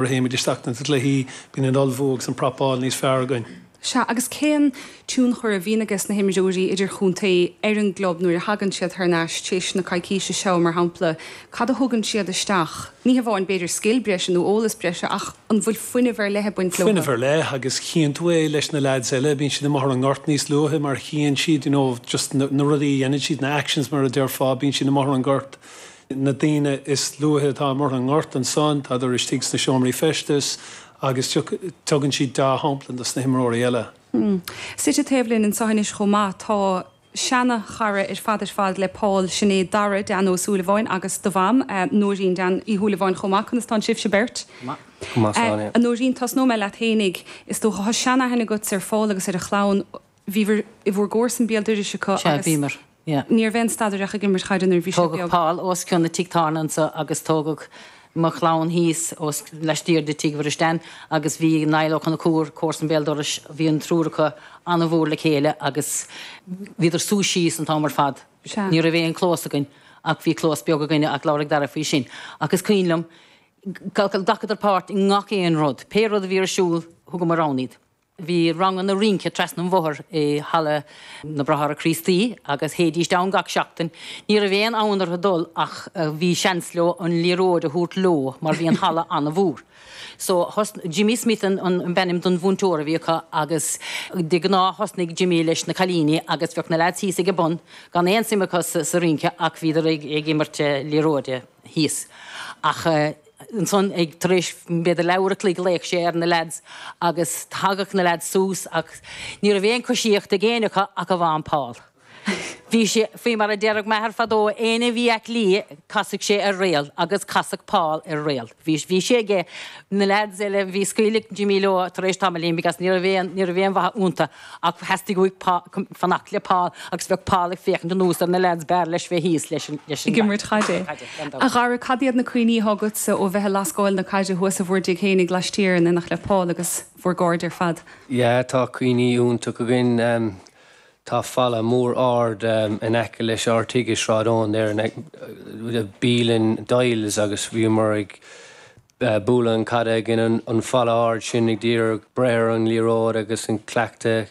Nuair a théimid isteach na cluichí, bíonn an ullmhú agus an prapáil níos fearr againn. Sea, agus cén tionchar a bhíonn ages na himreoirí idirchontae ar an gclub nuair a thagann siad thar n-ais tar éis na coicíse seo, mar shampla? Cad a thugann siad isteach? Ní hamháin, b'fhéidir, scil breise nó eolas breise, ach an bhfuil fuinneamh ar leith ag baint leo? Fuinneamh ar leith, agus chíonn tú é leis na leaids eile, bíonn siad amuigh ar an ngort níos luaithe mar chíonn siad, you know, just na rudaí a dhéanann siad, na actions mar a déarfá, bíonn siad amuigh ar an ngort. Na daoine is luaithe atá amuigh ar an ngort ansan, tádar istigh sna seomraí feistis agus tugann siad dea-shampla dos na himreoirí eile. Suite taobh linn anseo anois chomh maith tá seana-chara ar fad ar fad le Paul, sin é Dara, Dan Ó Súilleabháin agus do mham, Nóirín Dan Uí Shúilleabháin chomh maith. Conas tánn sibhse beirt? Go maith. Go maith, slán. A Nóirín, tosnóidh mé leat fhéinig. Is dócha, tá sean-aithne agatsa ar Phól agus ar a chlann. Bhíobhair i bhur gcomharsain béal dorais acu Sea, agus bhíomar, yeah. ní raibh aon stad air ach ag imirt chaide nuair a bhí sé Tógadh beag. Paul os cionn an tigh tábhairne anso agus tógadh mo chlann thíos os laistiar de tigh Mhuiris Dan agus bhí Niall Ó Conchúir, comharsan béal dorais, bhí an triúr acu an-mhór le chéile agus bhíodar suas síos an t-am ar fad. Sea. Ní raibh aon chlós againn ach bhí clós beag againne ach labharfaidh Dara faoi sin. Ach is cuimhin liom, ghlacadar páirt i ngach aon rud. Pé rud a bhí ar siúl, thugamar ann iad. Bhí ranganna rince trasna an bhóthair i Halla na Bráithre Críostaí agus théidíst ann gach seachtain. Ní raibh aon fhonn orthu dul ach bhí seans leo an liathróid a thabhairt leo mar bhí an halla an-mhór. So thosnaigh, Jimmy Smith an b'ainm don mhúinteoir a bhí acu agus de ghnáth thosnaigh Jimmy leis na cailíní agus bheadh na leaids thíos ag an bun gan aon suim acu sa rince ach bhíodar ag imirt liathróide thíos. Ach. Ansan ag tar éis b'fhéidir leathuair a chloig ghlaoch sé ar na leaids agus thagadh na leaids suas ach ní raibh aon choisíocht ag éinne acu ach amháin Paul. Bhí sé, faoi mar a déarfadh m'athair fadó, éinne a bhí aice liath casadh sé ar réal agus casadh Paul ar réal. Bhí, bhí sé aige, na leaids eile, bhí scaoileadh Jimmy leo tar éis tamaillín because ní raibh aon, ní raibh aon mhaith iontu Ach theastaigh uaidh fanacht le Paul agus bheadh Paul ag féachaint anuas ar na leaids b'fhearr leis bheith thíos leis an Ag imirt chaide. A Dhara, cad iad na cuimhní atá agatsa ó bheith ag lascáil na caide thuas i bhur dtigh fhéinig laistiar in éineacht le Paul agus bhur gcairde ar fad? Yeah, tá cuimhní iontach againn. Tá falla mór ard in aice leis ár tigh i Sráid Eoin there, bialann Doyle's agus bhíomar ag bualadh an caide ag an falla ard sin ag iarraidh breith ar an liathróid agus an cleachtadh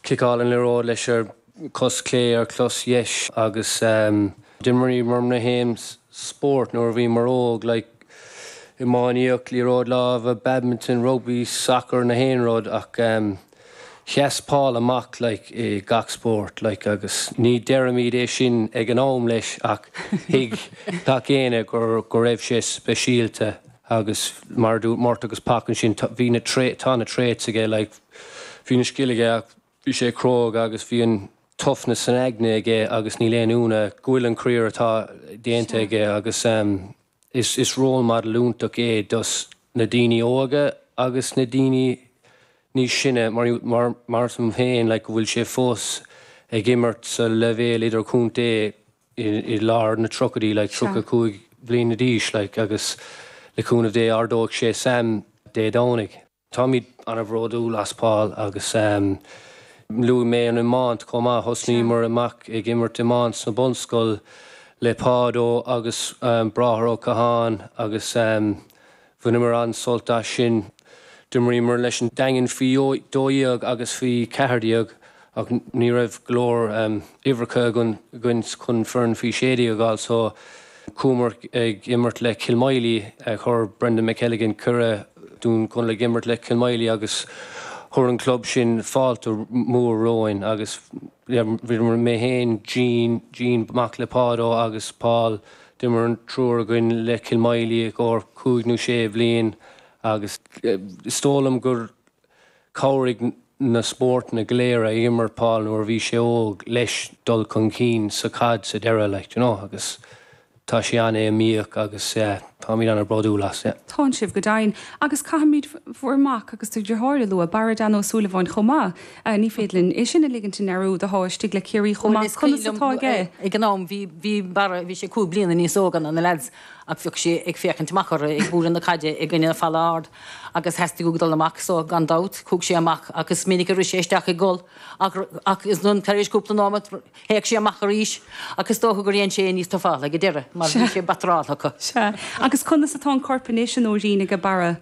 ciceáil an liathróid leis ar cos clé ar chos dheis agus d'imríomar na haon spórt nuair a bhíomar óg like iománaíocht, liathróid láimhe, badminton, rugbaí, sacar, na haon rud ach Sheas Paul amach like i gach spórt like agus ní deirimid é sin ag an am leis ach thuig gach éinne gur go raibh sé speisialta agus mar a dúirt Murt agus Pac ansin bhí na tá na traits aige like bhí na scil aige ach bhí sé cróga agus bhí an toughness san aigne aige agus níl aon ionadh go bhfuil an career atá déanta aige agus Is role model iontach é dos na daoine óga agus na daoine níos sine mar mar liom féin like go bhfuil sé fós ag imirt sa leibhéal idirchontae i lár na tríochaidí like 35 bliana d'aois like agus le cúnamh Dé ardóidh sé Sam Dé Domhnaigh. Táimid an-bhródúil as Paul agus luaigh mé an iomáint chomh maith. Thosnaíomar amach ag imirt iomáint sna bunscoil le Pádo agus Bráthair Ó Catháin agus bhaineamar an-sult as sin. D'imríomar leis an Daingean faoi 12 agus faoi 14 ach ní raibh go leor uimhreacha againn chun foireann faoi 16 a fháil so chuamar ag imirt le Kilmoyley. Chuir Brendan McElligan cuireadh dúinn chun ag imirt le Kilmoyley agus chuir an club sin fáilte mhór romhainn agus bhíomar mé féin, Gene, Gene mac le Pádo agus Paul, d'imir an triúr againn le Kilmoyley i gcomhair cúig nó sé bhliain agus is dóigh liom gur Chabhraigh na spórtanna go léir a imir Paul nuair a bhí sé óg leis dul chun cinn sa chaid sa deireadh, like, you know, agus tá sé an-iomaíoch agus yeah, táimid an-bhródúil as, yeah. Tánn sibh, go deimhin. Agus caithfimid bhur mac agus do dheartháir a lua, Barra Dan Ó Súilleabháin chomh maith. Ní féidir linn é sin a ligint i ndearúd, atá istigh le Ciarraí chomh Bhuel, maith. is cuimhin Conas atá liom aige? ag an am, bhí, bhí Barra, bhí sé cúig bliana níos óga ná na leaids. Ach bheadh sé ag féachaint amach orthu ag bualadh na caide i gcoinne an falla ard agus theastaigh uaidh dul amach so gan dabht chuaigh sé amach ach is minic a rith sé isteach i gol ach ach is tar éis cúpla nóiméad théadh sé amach arís ach is dócha gur dhein sé é níos tufála ag an deireadh mar bhí sé bataráltha acu. Sea. Agus conas atá an corp anois, a Nóirín, aige Barra?